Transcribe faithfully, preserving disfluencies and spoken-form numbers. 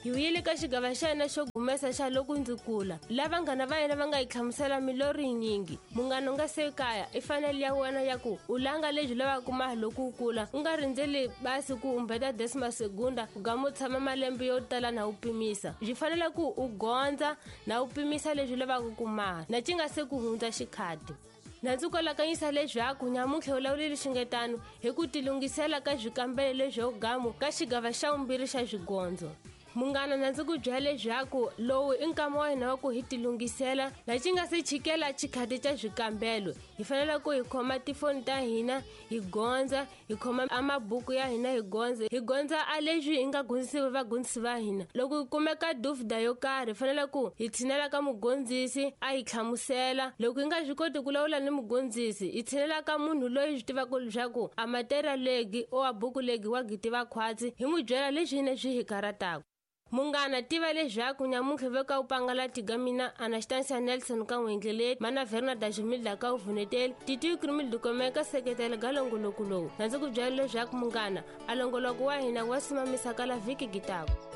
Hi vuyile ka xigava xa hina xo gumesa xa loko ndzi kula la vanghana va hina va nga hi hlamusela milorho yinyingi. Munghana u nga se kaya i fanele ya wena ya ku u langa lebyi lavaka mahi loko u kula, u nga rindzeli basi ku umbeta desima segunda u gama u tshama malembe yo tala na u pimisa. Byi fanele ku u gondza na u pimisa leswi lavaka ku maha na ci nga se ku hundza xikhati. Na ndzi kolakanyisa leswaku nyamuntlha u lawulile xingetano hi ku tilunghisela ka swikambelo leswo gamu ka xigava xa vumbirhi xa swigondzo. Munghana, na ndzi ku byela leswaku lowu i nkama wa hina wa ku hi tilunghisela na ci nga se chikela xikhati xa swikambelo. Hi fanele ku hi khoma tifoni ta hina hi gondza, hi khoma a mabuku ya hina hi gondza, hi gondza a leswi hi nga gondzisiwi vagondzisi va hina. Loko hi kumeka dufda yo karhi hi fanele ku hi tshinela ka mugondzisi a hi hlamusela. Loko hi nga swi koti ku lawula ni mugondzisi, hi tshinela ka munhu loyi swi tivaka leswaku a material legi o a buku legi wa gi tiva khwatsi, hi n'wi byela leswi hina swi hi karataka. Munghana, tiva leswaku nyamuntlha ve ka u pangala tiga mina Anastasia Nelson ka n'wendleleti, mana Verna Dajumilda ka uvuneteli, Titi Krimil Dukomeka seketela ga longoloko lowu. Na ndzi ku byela leswaku munghana, a longoloko wa hina wa simamisa ka la vhiki gitako.